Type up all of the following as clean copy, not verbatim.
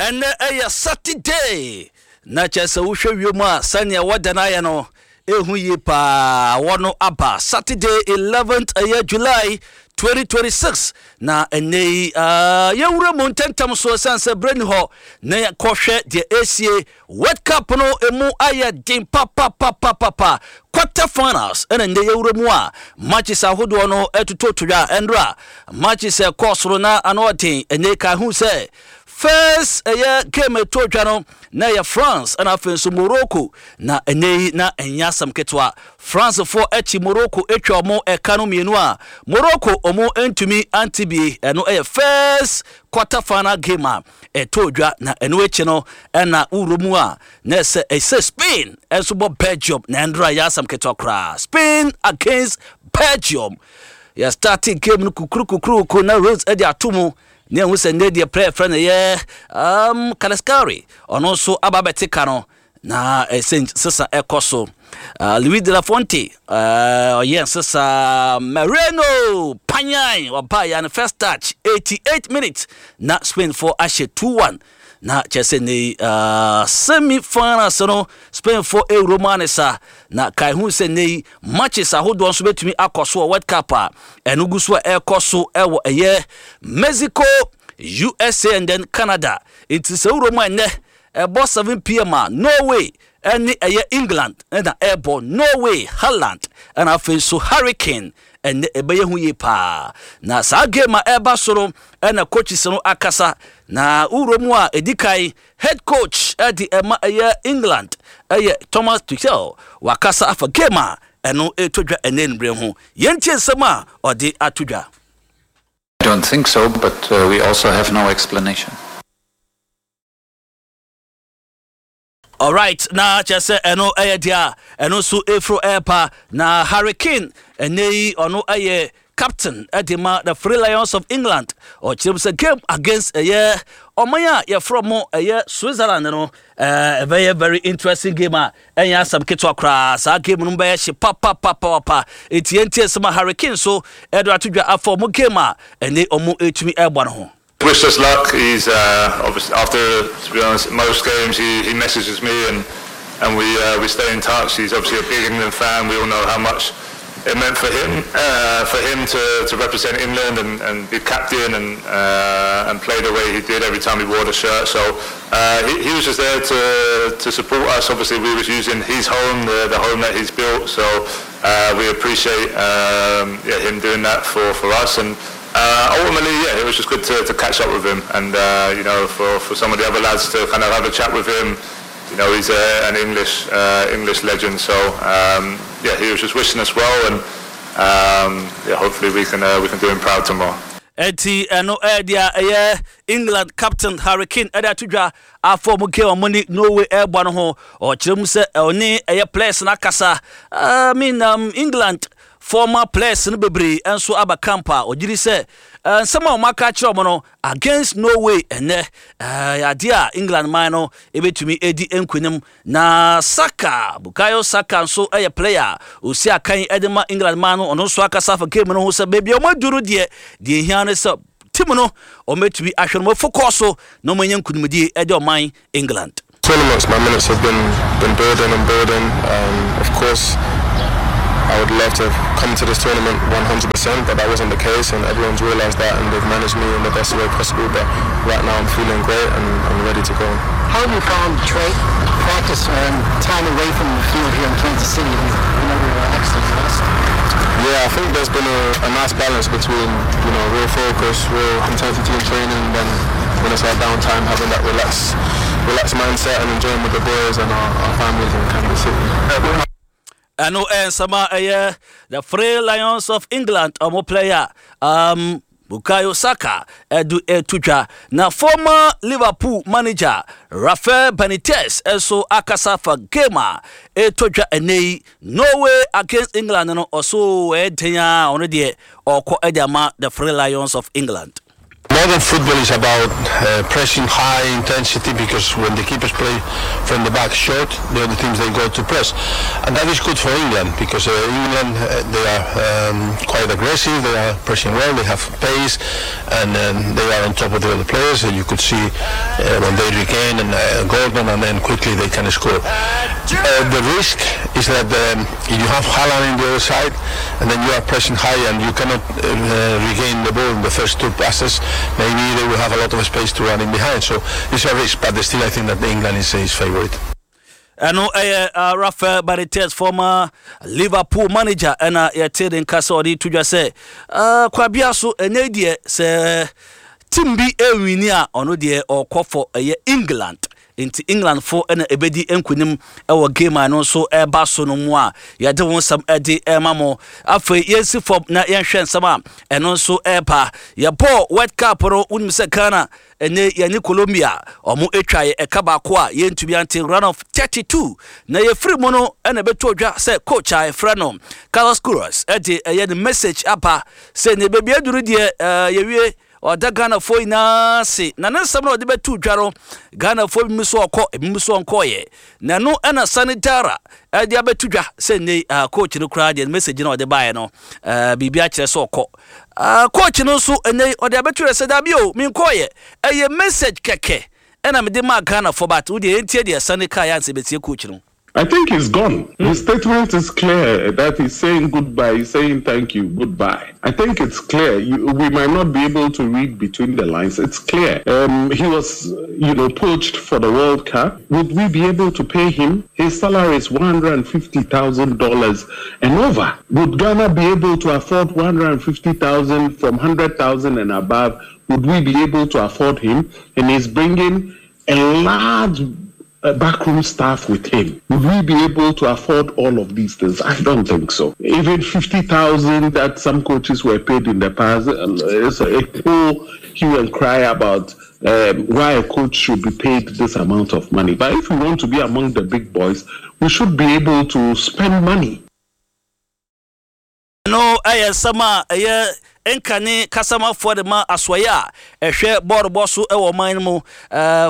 Ɛnnɛ ɛyɛ Saturday, na kyerɛ sɛ wohwɛ wiem a sɛnea weather no ayɛ no, ɛhu yie paa. Awɔ no aba. Saturday 11th ɛyɛ July 2026 na ɛnnɛ yi uh, yɛwura mu ntɛntɛm so ɛsiane sɛ berɛ ni hɔ na yɛkɔhwɛ deɛ ɛsie World Cup no emu ayɛ den papapapapapa. Quarter finals ɛna nnɛ yɛwura mu a matches ahodoɔ no ɛtototo dwa. Ɛndora matches ɛkɔɔ soro na ano ɔden. Ɛnnɛ ka ho sɛ first ɛyɛ game ɛtɔ dwa no na ɛyɛ France ɛna afei nso Morocco na ɛnnɛ yi na ɛnyɛ asɛm ketewa. France foɔ akyi Morocco atwa ɔmo ɛka no mmienu a Morocco ɔmo ntumi ante bie. Ɛno ɛyɛ first quarter final game a ɛtɔɔ dwa na ɛno akyi no ɛna wowura mu a na ɛsɛ ɛsɛ Spain ɛnso bɔ Belgium na ɛndora yɛ asɛm ketewa koraa Spain against Belgium yɛ starting game no kukuru kukuru na Rose ɛde ato mu ne ɛho sɛ nnɛ deɛ player frɛ no yɛ um, Kalaskari ɔno nso aba abɛte ka no Na ɛsɛ nsesa ɛkɔ so. Uh, Luis de la Fuente uh, ɔyɛ nsesa. Moreno panyan ɔbaa ya no first touch 88 minutes na Spain fo ahyɛ 2-1 na kyerɛ sɛ ne uh, semi finals no Spain fo ewuro mu ane sa na kae hu sɛ ne matches ahodoɔ nso bɛtumi akɔ so wɔ World Cup a ɛno gu so a ɛrekɔ so ɛwɔ ɛyɛ Mexico, USA and then Canada. Nti sɛ wuro mu ɛnɛ Ɛbɔ 7pm a, Norway ne ɛyɛ England na ɛrebɔ. Norway, Haaland ɛna afei nso Harry Kane. Ɛnnɛ ɛbɛyɛ hu yie paa. Na saa game a ɛreba so no ɛna coaches no akasa. Na wowura mu a, ɛdi kan head coach de ɛma ɛyɛ England ɛyɛ Thomas Tuchel. Wakasa afa game a ɛno ɛretɔ dwa ɛnnɛ anwummerɛ ho. Yɛntie nsɛm a ɔde ato dwa. I don't think so, but we also have no explanation. Alright, na kyerɛ sɛ ɛno ɛyɛ deɛ a ɛno nso ɛfiri ɛrepa na Harry Kane ɛnɛ yi ɔno ɛyɛ captain ɛde ma the Three Lions of England ɔkyerɛ mu sɛ game against ɛyɛ ɔman a yɛfrɛ mo ɛyɛ Switzerland no ɛbɛyɛ very interesting game a ɛnyɛ asɛm ketewa koraa saa game no bɛyɛ hye papapapapa eti yɛntie nsɛm a Harry Kane so ɛde ato dwa afa ɔmo game a ɛne ɔmo ɛtumi ɛrebɔ no ho. Wish us luck. He's uh, obviously after to be honest, most games he, he messages me and and we uh, we stay in touch. He's obviously a big England fan. We all know how much it meant for him uh, for him to, to represent England and, and be captain and uh, and play the way he did every time he wore the shirt. So uh, he, he was just there to to support us. Obviously, we was using his home, the, the home that he's built. So uh, we appreciate um, yeah, him doing that for, for us and. Uh, ultimately, yeah, it was just good to, to catch up with him and, uh, you know, for, for some of the other lads to kind of have a chat with him. You know, he's a, an English uh, English legend, so um, yeah, he was just wishing us well, and um, yeah, hopefully we can uh, we can do him proud tomorrow. Enti ɛno ɛyɛ deɛ ɛyɛ England captain Harry Kane ɛde ato dwa afɔ ɔmo game ɔmo ne Norway ɛrebɔ no ho. Ɔkyerɛ mu sɛ ɔne ɛyɛ players no akasa. I mean um, England Former players no bebree nso aba camp a ɔgye di sɛ nsɛm a wɔaka akyerɛ wɔn no against Norway ɛnnɛ yɛ adeɛ a England man no bɛtumi adi nkunim. Na Saka, Bukayo Saka nso yɛ player a ɔsi akan de ma England man no, ɔno nso akasa afa game no ho sɛ baabi a wɔaduru no deɛ, deɛ ɛhia ne sɛ team no wɔbɛtumi ahwɛ no wɔafokɔɔ so na wɔanya nkunimdie de ɔman England. Tournaments, my minutes have been been building and building. Um, of course, I would love to have come to this tournament 100%, but that wasn't the case, and everyone's realised that, and they've managed me in the best way possible. But right now, I'm feeling great and I'm ready to go. How have you found Trey practice and time away from the field here in Kansas City? Have you been able to relax and rest? Yeah, I think there's been a, a nice balance between you know real focus, real intensity in training, and then when it's our downtime, having that relaxed, relaxed mindset and enjoying with the boys and our, our families in Kansas City. Ɛno ɛyɛ nsɛm a ɛyɛ The Three Lions of England ɔmo player um, Bukayo Saka ɛde ɛto dwa. Na former Liverpool manager Rafael Benitez nso akasa fa game a ɛretɔ dwa ɛnɛ yi Norway against England no ɔso ɛyɛ den a ɔno deɛ ɔkɔ ɛde ama The Three Lions of England. Modern football is about uh, pressing high intensity because when the keepers play from the back short, the other teams they go to press, and that is good for England because uh, England uh, they are um, quite aggressive, they are pressing well, they have pace, and um, they are on top of the other players. And you could see uh, when they regain and uh, Gordon, and then quickly they can score. Uh, the risk is that um, if you have Haaland in the other side, and then you are pressing high and you cannot uh, regain the ball in the first two passes, maybe they will have a lot of space to run in behind. So it's a risk, but still I think that England is his favorite. Ɛno ɛyɛ uh, Rafael Benitez former Liverpool manager ɛna yɛte ne nka sɛ ɔde to dwa sɛ uh, kwabea so ɛnɛ deɛ sɛ team bi ɛwini a ɔno deɛ ɔkɔ fɔ ɛyɛ England Enti Englandfo na ebedi nkunim wɔ game a ɛno nso ɛreba so no mu a yɛde ho nsɛm de rema mo. Afei yɛnsi fam na yɛnhwɛ nsɛm a ɛno nso ɛreba. Yɛbɔɔ World Cup no, wonim sɛ Ghana ɛne yɛne Colombia wɔn atwa yɛ ɛka baako a yɛntumi ante round of 32 na yɛfiri mu no ɛna ɛbɛto dwa sɛ coach a yɛfrɛ no Carlos Queiroz ɛde ɛyɛ ne message aba sɛ ne baabi aduru deɛ yɛwie Ɔda Ghanafoɔ nyinaa ase na ne nsɛm no a ɔde bɛtoo dwa no, Ghanafoɔ binom nso ɔkɔ, ebinom nso ɔnkɔeɛ. Na ɛno na Sani Dara de abɛto dwa sɛ nnɛ yi ah, coach no koraa deɛ message no a ɔde baeɛ no, eh, biribi akyerɛ sɛ ɔkɔ. Ah, coach no nso nnɛ yi ɔde abɛto dwa sɛ dabi o, menkɔeɛ. Ɛyɛ message kɛkɛ ɛna mede maa Ghanafoɔ but wo deɛ yɛntie deɛ Sani kaeɛ ansa yɛbɛtie coach no. I think he's gone. His statement is clear that he's saying goodbye, he's saying thank you, goodbye. I think it's clear. You, we might not be able to read between the lines. It's clear. Um, he was, you know, poached for the World Cup. Would we be able to pay him? His salary is $150,000 and over. Would Ghana be able to afford 150,000 from 100,000 and above? Would we be able to afford him? And he's bringing a large backroom staff with him. Would we be able to afford all of these things? I don't think so. Even 50,000 that some coaches were paid in the past, it's a whole hue and cry about um, why a coach should be paid this amount of money. But if we want to be among the big boys, we should be able to spend money. Ɛno yɛ nsɛm a ɛyɛ nkane kasamafoɔ de ma asoɛeɛ a ɛhwɛ bɔɔlobɔ so wɔ ɔman no mu,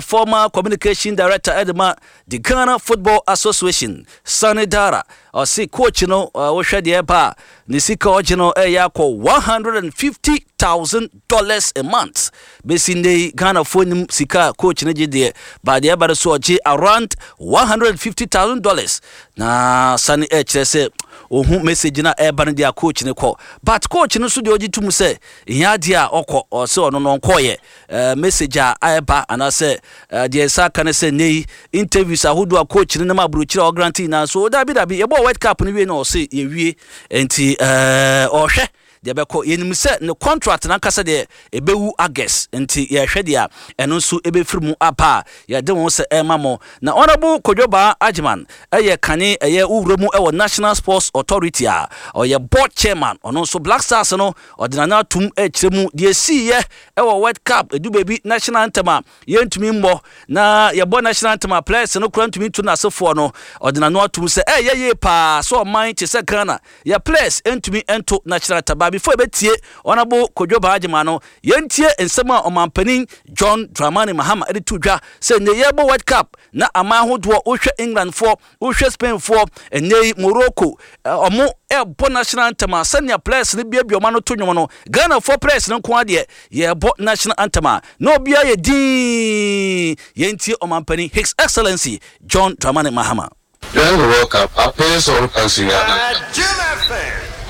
former communication director de ma the Ghana Football Association, Sani Dara. Ɔse coach no wohwɛ deɛ ɛba a, ne sika ɔgye no ɛyɛ akɔ $150,000 a month. Bɛsi nnɛ yi Ghanafoɔ nim sika a coach no gye deɛ, but deɛ ɛba no so ɔgye around $150,000. Na Sani ɛkyerɛ sɛ Ohu message no a ɛreba no deɛ a coach no kɔ but coach no nso deɛ ɔgye tom sɛ ɛhia adeɛ a ɔkɔ ɔsɛ ɔno no ɔnkɔɔyɛ eh, message a ɛreba anaasɛ eh, deɛ nsa aka no sɛ nnɛ yi interviews ahodoɔ a coach no nam aburokyire a ɔgrante nyinaa so dabi dabi yɛbɔɔ World Cup no wie na ɔse yɛwie nti eh, ɔhwɛ deɛ ɛbɛkɔ. Yɛnim sɛ ne contract no ankasa deɛ ɛbɛwu August nti yɛrehwɛ deɛ a ɛno nso ɛbɛfiri mu aba a yɛde ho sɛ ɛrema mo. Na Honourable Kojo Baa Agyeman yɛ kane ɛyɛ wo wura mu wɔ National Sports Authority a ɔyɛ board chairman ɔno nso Black Stars no ɔde n'ano atom rekyerɛ mu deɛ ɛsiiɛ wɔ World Cup ɛdu baabi national anthem a yɛntumi mmɔ na yɛbɔ national anthem a players no koraa ntumi ntu n'asefoɔ no ɔde n'ano atom sɛ ɛyɛ yie paa sɛ ɔman te sɛ Ghana Yɛ players ntumi nto national anthem but before yɛbɛtie Honourable Kojo Bagyema no, yɛntie nsɛm a Ɔmanpanin John Dramani Mahama de too dwa sɛ nnɛ yɛrebɔ World Cup na aman ahodoɔ, wohwɛ Englandfoɔ, wohwɛ Spainfoɔ, nnɛ yi Morocco, wɔn ɛrebɔ national anthem a sɛnea players no biabia wɔn ano to nnwom no, Ghanafoɔ players no nko ara deɛ yɛrebɔ national anthem a na obiara yɛ dinn. Yɛntie Ɔmanpanin His Excellency John Dramani Mahama. During the World Cup, our players all country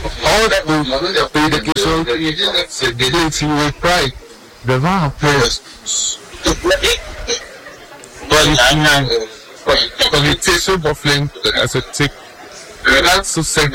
All that we play the game, so they with pride. The amount of players. But it tastes so buffling as a tick. That's so sad.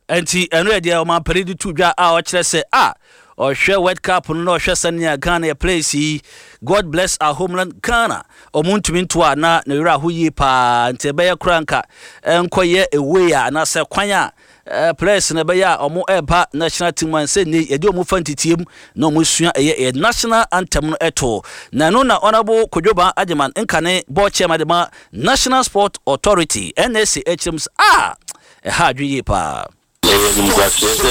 Enti ɛno yɛ deɛ ɔmanpanin de to dwa a ɔkyerɛ sɛ a ɔhwɛ World Cup no na ɔhwɛ sɛnea Ghana yɛ players yi God bless our homeland Ghana ɔmo ntumi nto a na ne werɛ aho yie paa nti ɛbɛyɛ koraa nka ɛnkɔyɛ a way a anaasɛ kwan a eh, players no ɛbɛyɛ a ɔmo ɛreba national team a nsɛ nnɛ yɛde ɔmo fa ntetiem na ɔmo sua ɛyɛ ɛyɛ national anthem no ɛto na ɛno na Honourable Kojo Ban Agyeman nkane board chairman de ma National Sport Authority NSA ɛkyerɛ mu sɛ a ɛha adwene yie paa. Ɛyɛ animguaseɛ sɛ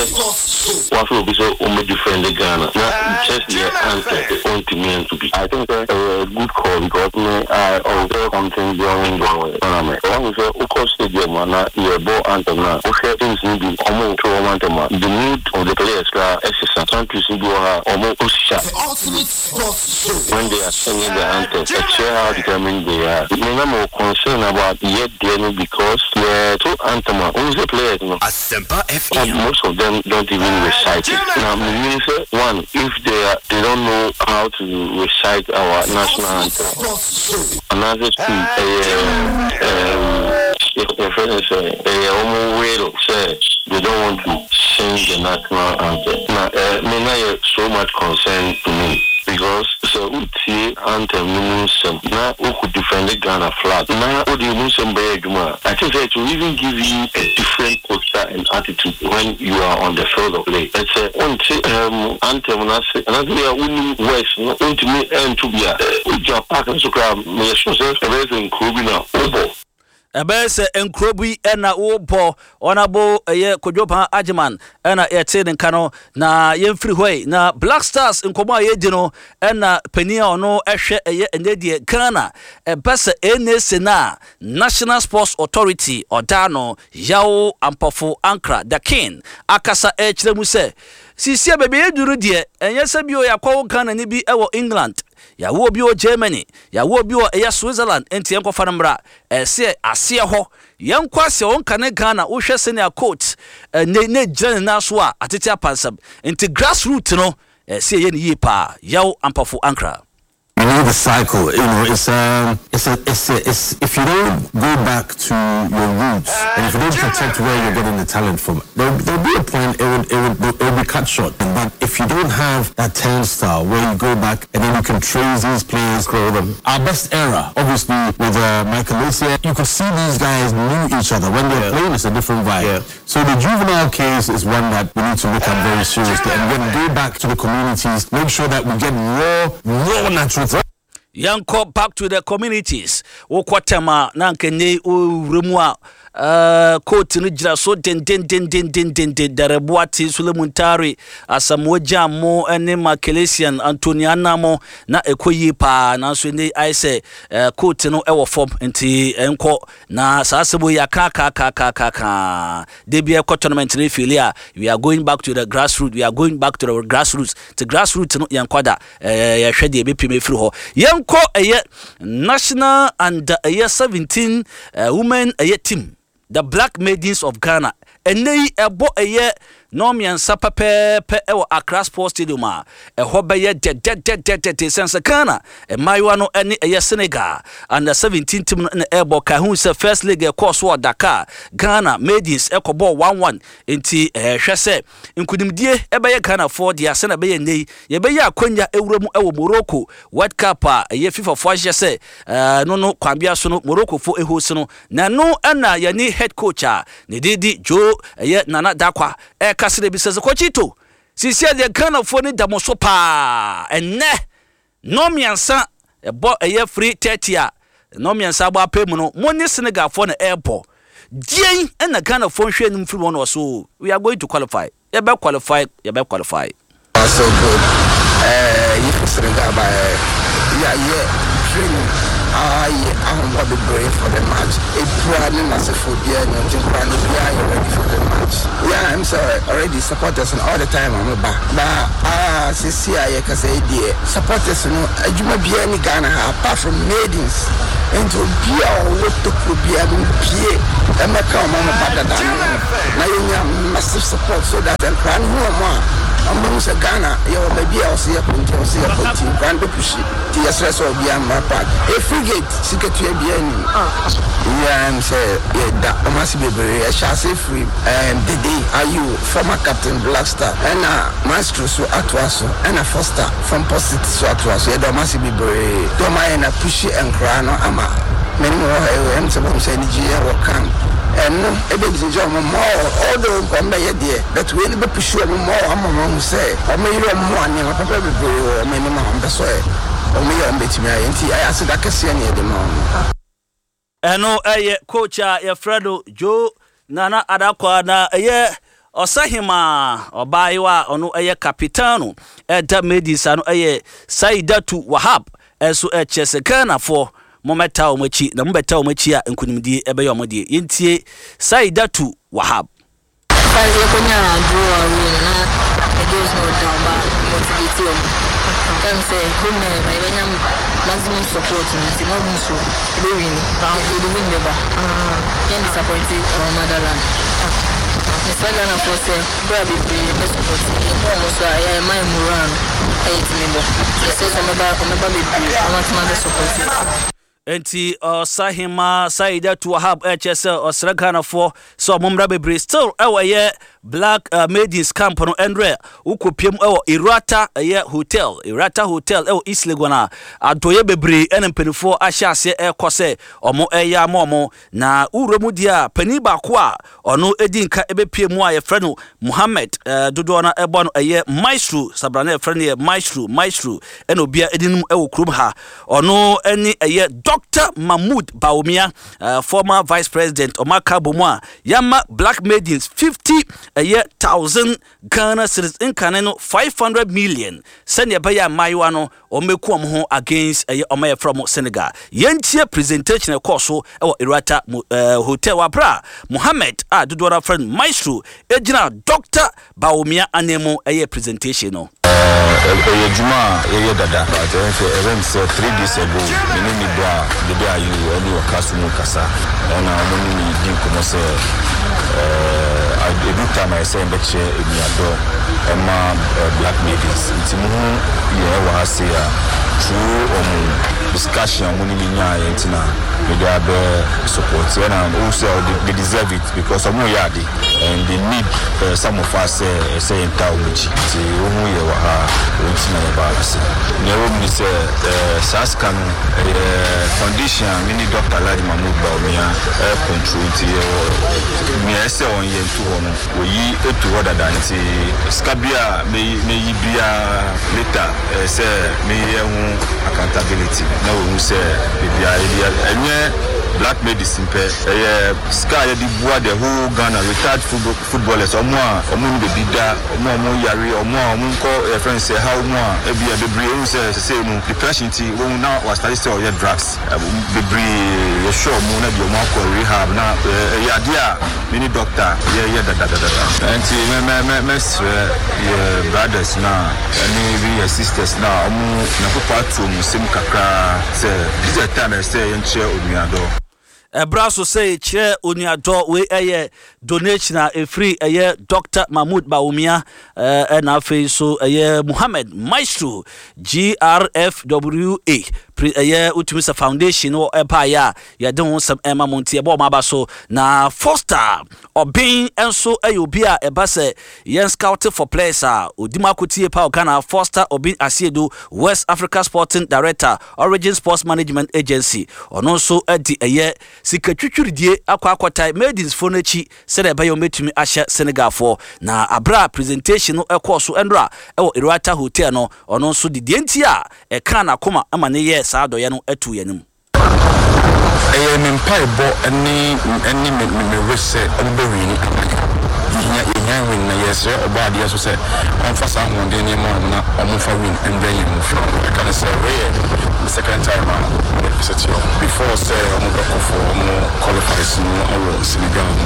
woafrɛ obi sɛ ɔmmɛ defend Ghana na just yɛ answer sɛ ɔntumi anto bi. I think sɛ ɛyɛ a good call because me I observe something during the tournament. Wahu sɛ wokɔ stadium a na yɛrebɔ anthem no a, wohwɛ teams no bi wɔreto wɔn anthem a, the mood of the players koraa sesa. Countries no bi wɔ hɔ a wɔhyɛ when they are singing the anthem, ɛkyerɛ how determined they are. Me na mewɔ concern about yɛ deɛ no because yɛto anthem a, wohu sɛ players no, Asempa FM. most of them don't even recite it. Na menim sɛ one, if they are, they don't know how to recite our national anthem, anaasɛ two, ɛyɛ um, yɛfrɛ no sɛ ɛyɛ wɔn will sɛ they don't want to sing the national anthem. Na eh, me na yɛ so much concern to me because sɛ wotie anthem no mu nsɛm na wokɔ defend Ghana flag na wode mu nsɛm bɛyɛ adwuma a, I think sɛ it will even give you a different posture and attitude when you are on the field of play. But sɛ wonte anthem no ase anaasɛ bi a wonnim words no, wontumi nto bi a, wogyina park no so koraa a, meyɛ sure sɛ ɛbɛyɛ sɛ nkuro bi na wobɔ. Ɛbɛyɛ sɛ nkuro bi na wobɔ. Honourable ɛyɛ Kojo Paa Agyeman ɛna yɛtee ne nka no. Na yɛmfiri hɔ yi, na Black Stars nkɔmmɔ a yɛredi no ɛna panin a ɔno ɛhwɛ ɛyɛ ɛnɛ deɛ Ghana ɛbɛ sɛ NSA no a National Sports Authority ɔda ano Yaw Ampofo Ankrah The King akasa ɛrekyerɛ mu sɛ seesei a baabi a yɛaduru no deɛ ɛnyɛ sɛ bio yɛakɔwo Ghanani bi wɔ England, yɛawo obi wɔ Germany, yɛawo obi wɔ ɛyɛ Switzerland enti yɛnkɔfa no mmra. Ɛsɛ aseɛ hɔ yɛnkɔ aseɛ hɔ nkane Ghana wohwɛ sɛnea court ɛnɛ na ɛgyina ne nan so a atete apansam nti grass root no ɛsɛ yɛyɛ no yie paa Yaw Ampofo Ankrah. You know the cycle, you know, it's um, it's a, it's a, it's if you don't go back to your roots and if you don't protect where you're getting the talent from, there, there'll be a point it would, it would, it would be cut short. But if you don't have that turnstile where you go back and then you can trace these players, grow them. Our best era, obviously, with uh, Michael Essien, you could see these guys knew each other. When they're yeah. playing, it's a different vibe. Yeah. So the juvenile case is one that we need to look at very seriously. And then go back to the communities, make sure that we get raw, raw natural Yɛnkɔ back to the communities. Wokɔ tɛm a na anka nnɛ yi wowura mu a uh, coat no gyina so dendendendendendenden. Dareboa te Sule Muntari, Asamoah Gyan mo ne Makelesian Anthony Anna mo na ɛkɔ yie paa nanso nnɛ yi ayɛ sɛ uh, coat no ɛwɔ fam nti ɛnkɔ Na saa asɛm wei yɛaka aka aka aka aka aka da bi ɛkɔ tournament no efeeli a we are going back to the grassroots we are going back to the grassroots te grassroots no yɛnkɔ da ɛɛ yɛhwɛ deɛ ebepiem efiri hɔ yɛnkɔ ɛyɛ national and ɛyɛ 17 uh, women ɛyɛ team the black maidens of Ghana ɛnɛ yi ɛbɔ ɛyɛ Nnɔnmiɛnsa pɛpɛɛpɛ wɔ Accra Sports Stadium a ɛhɔ bɛyɛ dɛdɛdɛdɛdɛ esiane sɛ Ghana mmaayewa no ne ɛyɛ Senegal Under 17 team no na ɛrebɔ. Kae hu sɛ first leg a ɛkɔɔ so wɔ Dakar, Ghana Maidens kɔbɔɔ 1-1 enti hwɛ sɛ nkunimdie bɛyɛ Ghanafoɔ dea sɛnea ɛbɛyɛ nnɛ yi yɛbɛyɛ akwanya awura mu wɔ Morocco World Cup a ɛyɛ FIFA foɔ ahyehyɛ sɛ ɛno no kwan bia so no Morocco foɔ host no. Na ɛno na yɛne head coach a ne din de Joe ɛyɛ Nana Darkwa ɛrekasa na ebisa sɛ Coachito, seesei deɛ Ghanafoɔ ani da mo so paa, ɛnnɛ nnɔnmiɛnsa ɛbɔ ɛyɛ 3:30 a nnɔnmiɛnsa abɔ apɛ mu no mo ne Senegalfoɔ na ɛrebɔ, deɛn na Ghanafoɔ nhwɛ anim firi wɔn na ɔso we are going to qualify, yɛbɛ qualify, yɛbɛ qualify. Far so good eh yɛ Senegal ba eh ya yɛ training aa yɛ ahoboa bebree for the match epira ne nasefo biara ni nti nkora no biara yɛ ready for the match yeah I'm sɛ already supporters no all the time ɔmo ba ba aa sisi a yɛ kasa yi deɛ supporters no adwuma biara ni Ghana ha apart from maidens nti obi a ɔwɔ tokuro biara no mpie ɛmɛka ɔmo ɔmo ba dada no ho na yɛnya massive support so that nkora no hu ɔmo a ɔmo bɛhu sɛ Ghana yɛwɔ baabi a ɔsɛ yɛkɔ nti ɔsɛ yɛkɔ nti nkora no bɛpushi nti yɛsrɛ sɛ obiara mmra park ɛyɛ free gate sikatua biara nnim. Yeah ɛm sɛ yɛda ɔmo ase bebree ɛhyɛ ase firi ɛɛm Dede Ayew former captain Black Star ɛna Maestro so atoa so ɛna Foster from Port City so atoa so yɛda ɔmo ase bebree deɛ ɔmo ayɛ na pushi nkora no ama me ne mo wɔ ha yi ɛm sɛ mohu sɛ anigyeɛ wɔ camp ɛno ɛbɛgyigya ɔmo more although nka ɔmo bɛyɛ deɛ but wei no bɛ pushi ɔmo more ama ɔmo ahu sɛ ɔmo yere ɔmo ho a nneɛma papa bebree wɔ ɔmo anim a ɔmo pɛ sɛ ɔmo yɛ ɔmo bɛtumi ayɛ nti ɛyɛ aseda kɛseɛ na yɛde ma ɔmo. Ɛno yɛ coach a yɛfrɛ no Joe Nana Adakwa na ɛyɛ. Ɔsahemaa, ɔbaayewa a ɔno yɛ Capitano ɛda Maidens ano yɛ Saidatu Wahab nso kyerɛ sɛ Ghanafoɔ mommɛtaa wɔn akyi na mobɛtaa wɔn akyi a nkunimdie bɛyɛ wɔn deɛ. Yɛntie Saidatu Wahab. First yɛkɔnyaa draw away no na the girls no wɔ down but motivate wɔn. Ɛm sɛ home na yɛba yɛbɛnya maximum support no nti na ɔmo nso yɛbɛ win yɛde win bɛba yɛn disappoint our motherland. Mesrɛ Ghanafoɔ sɛ berɛ a bebree bɛ support yɛn yɛhu ɔmo nso a ɛyɛ a ɛma yɛn moral no ɛyɛ tumi bɔ. Mesrɛ sɛ ɔmo bɛba ɔmo bɛba bebree na ɔmo atumi abɛ support yɛn. Enti Ɔsahemaa Saidatu Wahab ɛkyerɛ sɛ ɔsrɛ Ghanafoɔ sɛ ɔmo mmra bebree still ɛwɔ ɛyɛ Black Maidens camp no ɛnrɛ wokɔ piem ɛwɔ Irata ɛyɛ hotel Irata hotel ɛwɔ East Legon a adɔeɛ bebree ɛna mpaninfoɔ ahyɛ aseɛ ɛkɔ sɛ ɔmo ɛyɛ ama ɔmo Na wo wura mu deɛ a, panin baako a ɔno di nka bɛpue mu a yɛfrɛ no Mohammed, dodoɔ no ɛbɔ no ɛyɛ Maestro, sabra no yɛfrɛ no yɛ Maestro, Maestro ɛna obia ɛdi nom ɛwɔ kurom ha. Ɔno ɛne ɛyɛ Doctor Mahmood Bawumia, former Vice President, ɔmo aka abɔ mu a yɛama Black Maidens 50 ɛyɛ thousand Ghana cedis, nkane no 500 million, sɛdeɛ ɛbɛyɛ a mmaayewa no Wɔn bɛku wɔn ho against ɛyɛ wɔn a yɛfrɛ wɔn Senegal. Yɛntie presentation a ɛkɔɔ so wɔ Erata Hotel wɔ aberɛ a Mohammed a dodoɔ no ara frɛ no Maestro gyina Doctor Bawumia ananmu yɛɛ presentation no. Ɛyɛ adwuma a yɛyɛ dada but ɛyɛ sɛ ɛrem sɛ 3 days ago me ne me bra Dede Ayew ɛne ɔka so mu kasa ɛna ɔmo ne me di nkɔmmɔ sɛ ɛdu time a ɛsɛ yɛbɛkyerɛ enuadɔ ɛma Black Maidens nti mo ho yɛ ɛwɔ ha sei a through ɔmo discussion a ɔmo ne me nyaeɛ nti na mede abɛ support ɛna also they deserve it because ɔmo yɛ ade and they need some of us sɛ ɛsɛ yɛn taa ɔmo akyi nti wohu yɛ wɔ ha a wɔn nti na yɛbaa ha sei. Nea ɛwɔ mu ne sɛ saa sika no ɛyɛ foundation a me ne Doctor Alhaji Mahmood Bawumia control nti yɛwɔ nea ɛsɛ ɔnyɛ nto hɔ no wɔyi to hɔ dada nti sika bi a mɛyi biara later ɛyɛ sɛ meyɛ ho accountability na wɔhu sɛ biribiara yɛde ɛnyɛ black medicine pɛ ɛyɛ sika a yɛde boa the whole Ghana retired footballers ɔmo a ɔmo nni baabi da ɔmo a ɔmo yare ɔmo a ɔmo nkɔ yɛfrɛ no sɛ haw mu a ebia bebree ehu sɛ sesei no depression nti wɔn na wɔastarte sɛ ɔyɛ drugs bebree yɛhwɛ ɔmo na deɛ ɔmo akɔ rehab na ɛyɛ adeɛ a me ne doctor yɛyɛ dadadadada. Nti mɛ mɛ mɛ mɛsrɛ yɛ brothers no a ɛne even yɛ sisters no a ɔmo Nyankopɔn ato ɔmo nsam kakra sɛ this is the time ɛsɛ yɛnkyerɛ onuadɔ. Ɛbra so sɛ yɛkyerɛ onuadɔ, wei ɛyɛ donation a ɛfiri ɛyɛ Doctor Mahmood Bawumia ɛna afei nso ɛyɛ Muhammad Maestro GRFWA pre ɛyɛ wotumi sɛ foundation no ɛbaeɛ a yɛde ho nsɛm ɛma mo nti ɛbɔ wɔn aba so na Foster Ɔben nso ɛyɛ obi a ɛba sɛ yɛn scout for players a ɔdi mu akotie pa wɔ Ghana Foster Obin Asiedu West Africa Sporting Director Origin Sports Management Agency ɔno nso de ɛyɛ sika twitwiridie akɔ akɔtae Maidens foɔ no akyi sɛdeɛ ɛbɛyɛ wɔbɛtumi ahyɛ Senegal foɔ na aberɛ a presentation no kɔɔ so ɛnora ɛwɔ Erata Hotel no ɔno nso de deɛ nti a ɛkaa n'akoma ma no yɛɛ saa adɔeɛ no too yɛn anim. Ɛyɛ me mpaebɔ ne ne me me wish sɛ ɔmo bɛ wini ama yɛn. Yɛhia yɛhia win na yɛsrɛ Ɔbɔadeɛ nso sɛ ɔmfa saa ahoɔden no mma ɔmo na ɔmo mfa win mbrɛ yɛn mu fie. Mɛka no sɛ wei yɛ me second time a me visit ɔmo. Before sɛ ɔmo bɛkɔ for ɔmo qualifies no wɔ Senegal no,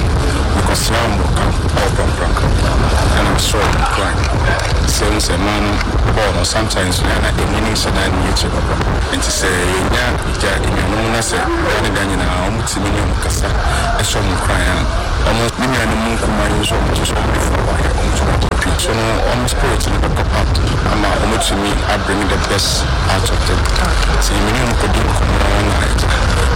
me kɔ sraa ɔmo wɔ camp ɛwɔ Prampram ɛna me srɛ ɔmo nkuran sɛ wohu sɛ mmaa no bɔɔl no sometimes no ɛyɛ a na ɛnni ne nhyɛ da nni akyire papa. Enti sɛ yɛnya gya anuanom na sɛ da ne da nyinaa wɔtumi ne wɔn kasa hyɛ wɔn nkuran a, wɔn me nuanom nkumaa yi nso wɔn nso so wɔde fa wɔayɛ wɔn nso wɔakɔpi so no wɔn spirit no bɛkɔ up ama wɔatumi a bring the best out of them. Nti me ne wɔn kɔdi nkɔmmɔ na agya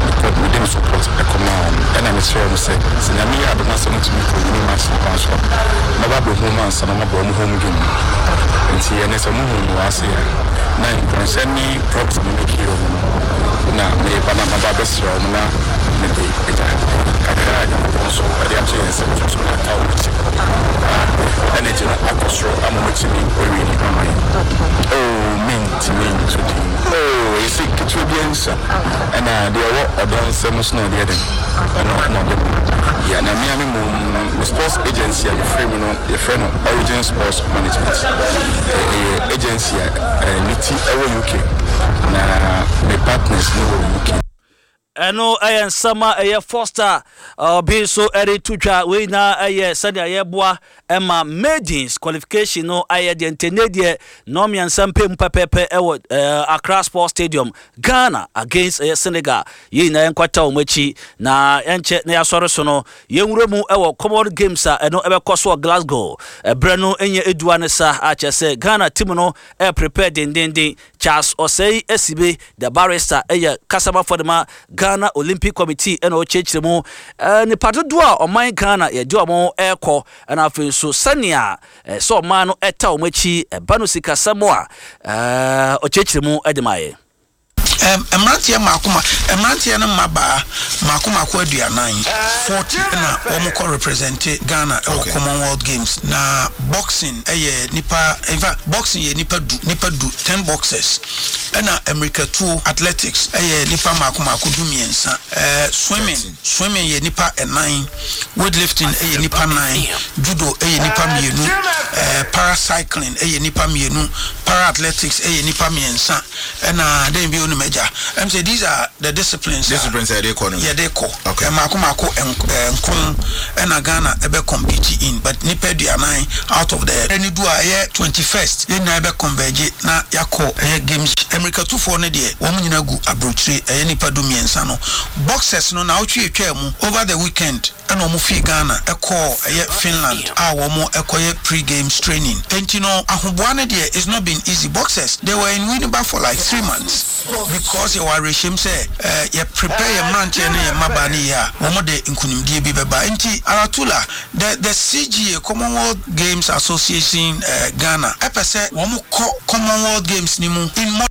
mekɔ mede me support kɔmaa wɔn ɛna mekyerɛɛ wɔn sɛ sɛ Nyame yɛ adom na sɛ wɔtumi kɔ wini match no kwan so a mɛba abɛhu wɔn ansa na wɔabɔ wɔn home game no. Nti ɛnnɛ sɛ wɔhu me wɔ ase a na nkuranhyɛ ne props a mebɛkii wɔn no na mereba na maba abɛsrɛ wɔn na mede agya kakra a Nyankopɔn nso de ato yɛn nsam nso so aka wɔn akyi na energy no akɔ soro ama wɔatumi awini ama yɛn. Oh, mentumi nto din. Oh, ɛsɛ ketewa bi. biara nsua. Ɛna deɛ ɛwɔ ɔdɔ nsam nso na ɔde yɛ dɛn? Ɛno na ɔde ma. Yeah, na me ara me mmom no, me sports agency a mefiri mu no, yɛfrɛ no Origin Sports Management. Ɛyɛ agency a ne ti wɔ UK, na me partners no wɔ UK. Ɛno yɛ nsɛm a ɛyɛ Foster bi nso de to dwa. Wei nyinaa yɛ sɛnea yɛboa ma maidens qualification no ayɛ deɛ nti ɛnnɛ deɛ nnɔnmiɛnsa mpɛ mu pɛpɛɛpɛ wɔ Accra Sports Stadium, Ghana against ɛyɛ Senegal. Yɛn nyinaa yɛnkwata wɔn akyi na yɛnkyɛ na yɛasɔre so no yɛnwura mu wɔ Commonwealth Games a ɛno ɛbɛkɔ so wɔ Glasgow. Ɛberɛ no nyɛ edua ne sa a kyerɛ sɛ Ghana team no ɛreprepare dendenden. Charles Osei Asibe, the barrister, yɛ kasamafo de ma Ghana Olympic Committee na ɔkyerɛkyerɛ mu nnipa dodoɔ a ɔman Ghana yɛde wɔn rekɔ na afei nso sɛnea sɛ ɔman no ta wɔn akyi ɛba no sikasɛm a ɔkyerɛkyerɛ mu de ma yɛ. Mmeranteɛ mmaako ma mmeranteɛ no mmabaa mmaako mmaako 40, 40 na wɔn kɔ represente Ghana wɔ Commonwealth Games. Na boxing yɛ nipa, in fact boxing yɛ nipa du, nipa du, 10 boxers. Ɛna mmirikatuo, athletics, yɛ nipa mmaako mmaako 13. Swimming, swimming yɛ nipa nnan, weightlifting yɛ nipa nnan, judo yɛ nipa mmienu, para cycling yɛ nipa mmienu, para athletics yɛ nipa mmiɛnsa. Ɛna dɛn bio no m'agya? Ɛm sɛ these are the disciplines a Disciplines a yɛde kɔ no. yɛde kɔ. Okay. Mmaako mmaako nkron ɛna Ghana ɛbɛ compete in but nnipa 40 out of the ɛne du a ɛyɛ 21st yɛn nyinaa yɛbɛ converge na yɛakɔ ɛyɛ games. Mmirikatufoɔ no deɛ wɔn nyinaa gu abrokyire ɛyɛ nnipa 13 no. Boxers no naawɔtwe ɛtwaa mu over the weekend ɛna wɔn fii Ghana kɔɔ ɛyɛ Finland a wɔn kɔyɛ pre games training. Enti no ahoboa no deɛ it's not been easy. Boxers they were in Winneba for like 3 months because yɛwɔ awerɛhyɛm sɛ yɛ prepare yɛn mmeranteɛ ne yɛn mmabaa no yie a wɔn de nkunimdie bi bɛba. Enti Aratula the the CGA, Commonwealth Games Association Ghana ɛpɛ sɛ wɔn kɔ Commonwealth Games no mu in more.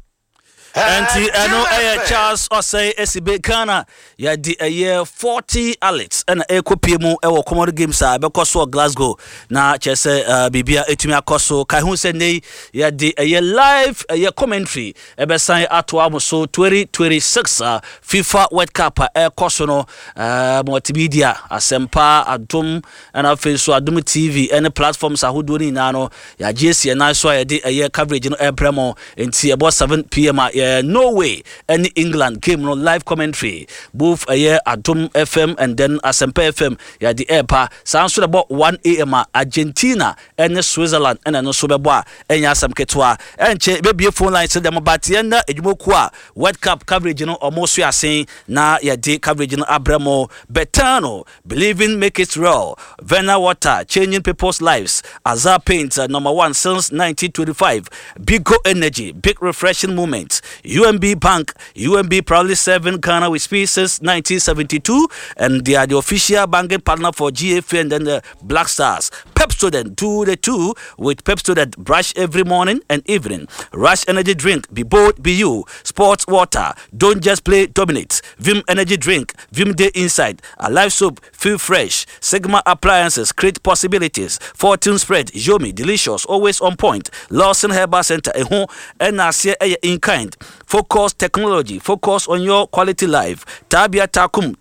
Ɛnti ɛno ɛyɛ Charles Osei Esibe. Ghana yɛde ɛyɛ 40 athletes ɛna ɛrekɔpie mu ɛwɔ Commonwealth Games a ɛbɛkɔ so wɔ Glasgow na kyerɛ sɛ biribia ɛtumi akɔ so. Kae ho sɛ nnɛ yi yɛde ɛyɛ live ɛyɛ commentary ɛbɛsan atoa mo so 2026 FIFA World Cup a ɛrekɔ so no. Multimedia, Asɛmpa, Adom ɛna afei nso Adom TV ɛne platforms ahodoɔ no nyinaa no yɛagye asi yɛn nan so a yɛde ɛyɛ coverage no ɛrebrɛ mo. Nti ɛbɔ 7 p.m. a yɛ Norway ɛne England game no live commentary, both ɛyɛ Adom FM and then Asɛmpa FM yɛde ɛreba. Saa nso na ɛbɔ 1 a.m. a Argentina ɛne Switzerland ɛna ɛno nso bɛbɔ a ɛnyɛ asɛm ketewa. Ɛnkyɛ bɛbie phone lines dɛm but yɛn na adwumakuo a World Cup coverage no ɔmo so asen na yɛde coverage no abrɛ mo. Betano, believing make it real. Vena Water, changing people's lives. Azar Paint, number one since 1925. Bigo Energy, big refreshing moment. UMB Bank, UMB proudly serving Ghana with speed since 1972, and they are the official banking partner for GFA and then the Black Stars. Pepsodent, do the two with Pepsodent. Brush every morning and evening. Rush Energy Drink, be bold, be you. Sports Water, don't just play, dominate. Vim Energy Drink, Vim Day Inside. Alive Soap, feel fresh. Sigma Appliances, create possibilities. Fortune Spread, Yomi, delicious, always on point. Lawson Herbal Center, Eho, ɛna aseɛ ɛyɛ in kind. Focus Technology, focus on your quality life. Tabia Takum,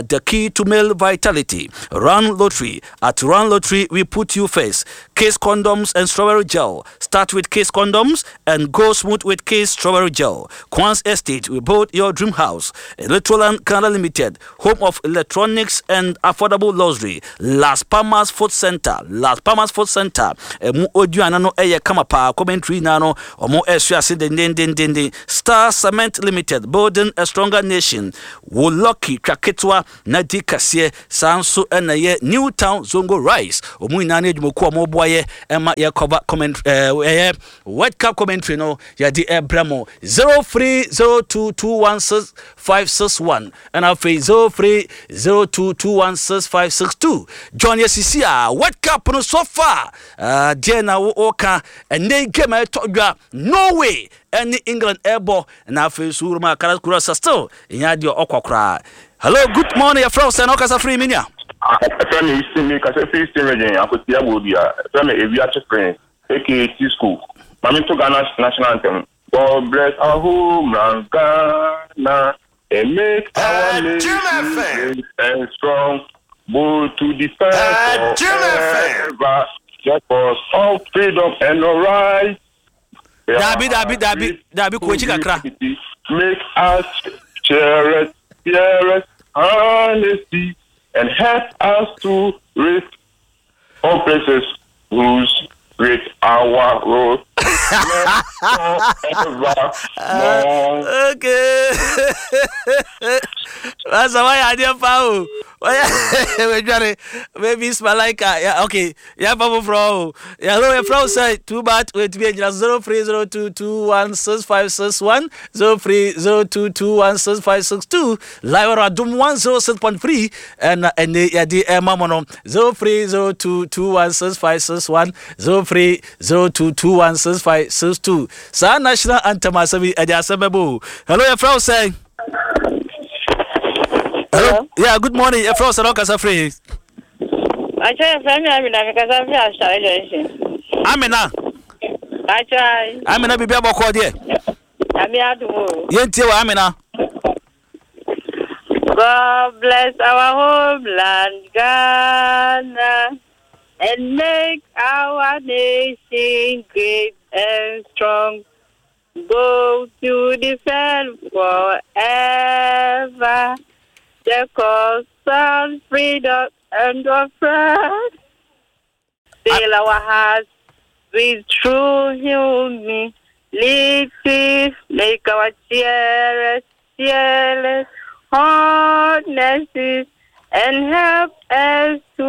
the key to male vitality. Run Lottery. At Run Lottery, we put you first. Kiss condoms and strawberry gel. Start with Kiss condoms and go smooth with Kiss strawberry gel. Quans Estate, we build your dream house. Electroland Canada Limited, home of electronics and affordable luxury. Las Palmas Food Center. Las Palmas Food Center. Emu oduana no ɛyɛ kama paa. Commentary na no ɔmo ɛso ase dendendendenden. Star Cement Limited, building a stronger nation. Wo lucky twa ketewa na di kɛseɛ. Saa nso ɛna yɛ New Town Zongo Rice. Ɔmo nyinaa ne adwumakuo a ɔmo boa yɛ ɛma yɛ cover comment ɛyɛ World Cup commentary no yɛde ɛbrɛ mo. 0302216561 ɛna afei 0302216562. John, yɛsisi a World Cup no so far, deɛ na wɔka ɛnɛ game a ɛtɔ dwa, Norway ɛne England ɛbɔ, na afei nso wuruma akara kura sa still ɛnya deɛ ɔkɔ koraa. Hello, good morning, yɛfrɛ wo sɛ na ɔkasa firi me nua? Ɛfrɛ me Eastern, mi kasa firi Eastern Region, Akotia Bodua. Ɛfrɛ me Ewiase Prince, aka T School. Maame to Ghana national anthem. God bless our homeland, Ghana, and make our nation great and strong, bold to defend forever the cause of freedom and our rights. Dabi, dabi, dabi, dabi, kɔ akyi kakra. Make us cherish, cherish honesty and help us to reach all places whose great our road. Okay. Masa wayɛ adeɛ paa o. Wayɛ wadware. Maybe it's Malaika. Yeah, okay. Yɛmfa foforɔ o. Hello, yɛfrɛ wo sɛ too bad wɔatumi agyina so 0302216561 0302216562 live on Adom 106.3 ɛna ɛne yɛde ɛma mo no 0302216561 0302216562 saa national anthem asɛm yi ɛde asɛm bɛbɔ o. Hello, yɛfrɛ wo sɛ Hello. Yeah, good morning. Yɛfrɛ wo sɛ na ɔkasa firi he? Akyɛ yɛfrɛ me Amina mekasa firi Asare Junction. Amina. Akyɛ. Amina biribi abɔkɔ deɛ. Nyame adom o. Yɛntie wɔ Amina. God bless our homeland Ghana and make our nation great and strong. Go to defend forever the cause of freedom and of pride. Fill our hearts with true humility. Make our cheerless, fearless honesty and help us to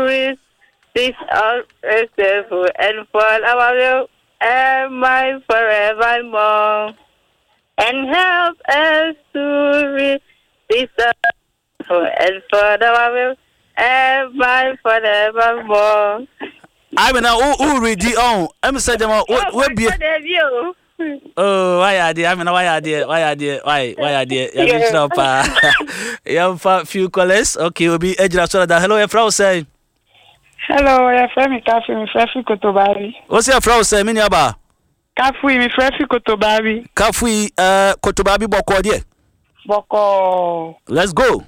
resist our and for our will and mine forevermore. And help us to resist and for our will and mine forevermore. I mean, who who read the on? I'm saying, what what be? Oh, why are they? I mean, why are they? Why are they? Why why are they? Yeah, yeah. Pa. Yeah, few callers. Okay, we'll be edge. Hello, your say. Hello, yɛfrɛ me Kafui, mefrɛ fi Kotobaabi. Wo se yɛfrɛ wo sɛ me nuabaa? Kafui, mefrɛ fi Kotobaabi. Kafui, uh, Kotobaabi bɔkɔɔ deɛ? Bɔkɔɔ. Let's go.